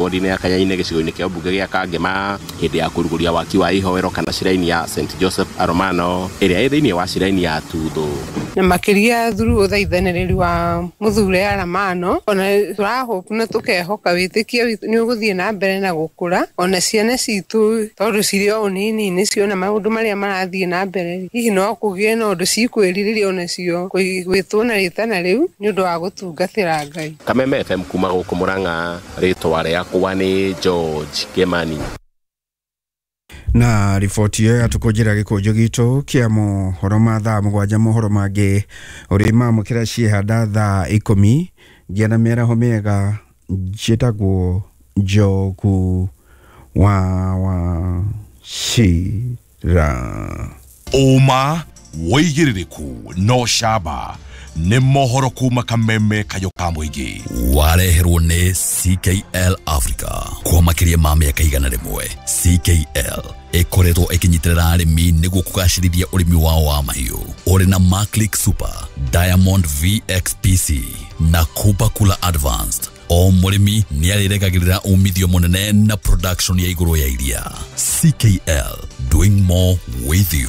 Wodi-inĩ ya Kanyainĩ gĩcigo-inĩ kĩa ũmbunge gĩa Kangema hĩndĩ ya kũrugũria waki wa ihoero kana ciraini ya St Joseph Aromano ĩrĩa ĩ thĩinĩ wa ciraini ya Tuthũ. Na makĩria through ũthaithanĩrĩri wa mũthure Aramano, ona tũrahope na tũkehoka wĩtĩkio witũ nĩ ũgũthiĩ na mbere na gũkũra, ona ciana citũ tondũ cirĩ o ũnini-inĩ ciona maũndũ marĩa marathiĩ na mbere, hihi no kũgĩe na ũndũ cikwĩrirĩria onacio gwĩtwo na rĩtana rĩu nĩ ũndũ wa gũtungatĩra Ngai. Kameme FM kuma gũkũ Murang'a, rĩtwa rĩakwa nĩ George Kimani. Na riboti ĩyo yatũkũnjĩra gĩkũnjũ gitũ kĩa mohoro ma thaa 7, mohoro mangĩ ũrĩ mamũkĩra ciehanda thaa 10 ngĩa na mĩaraho mĩega. Njĩtagwo Njogu wa Wachira. Ũma wĩigĩrĩrĩku no camba nĩ mohoro kuma Kameme kayo ka mũingĩ. Wareherwo nĩ CKL Africa kwa makĩria ma mĩaka 100. CKL ĩkoretwo ĩkĩnyitĩrĩra arĩmi nĩguo kũgacĩrithia ũrĩmi wao wa mahiũ ũrĩ na Maclick Super, Diamond VXPC na Kuba Kula Advanced. O mũrĩmi nĩ arĩregagĩrĩra umithio mũnene na production ya igũrũ ya iria. CKL, doing more with you.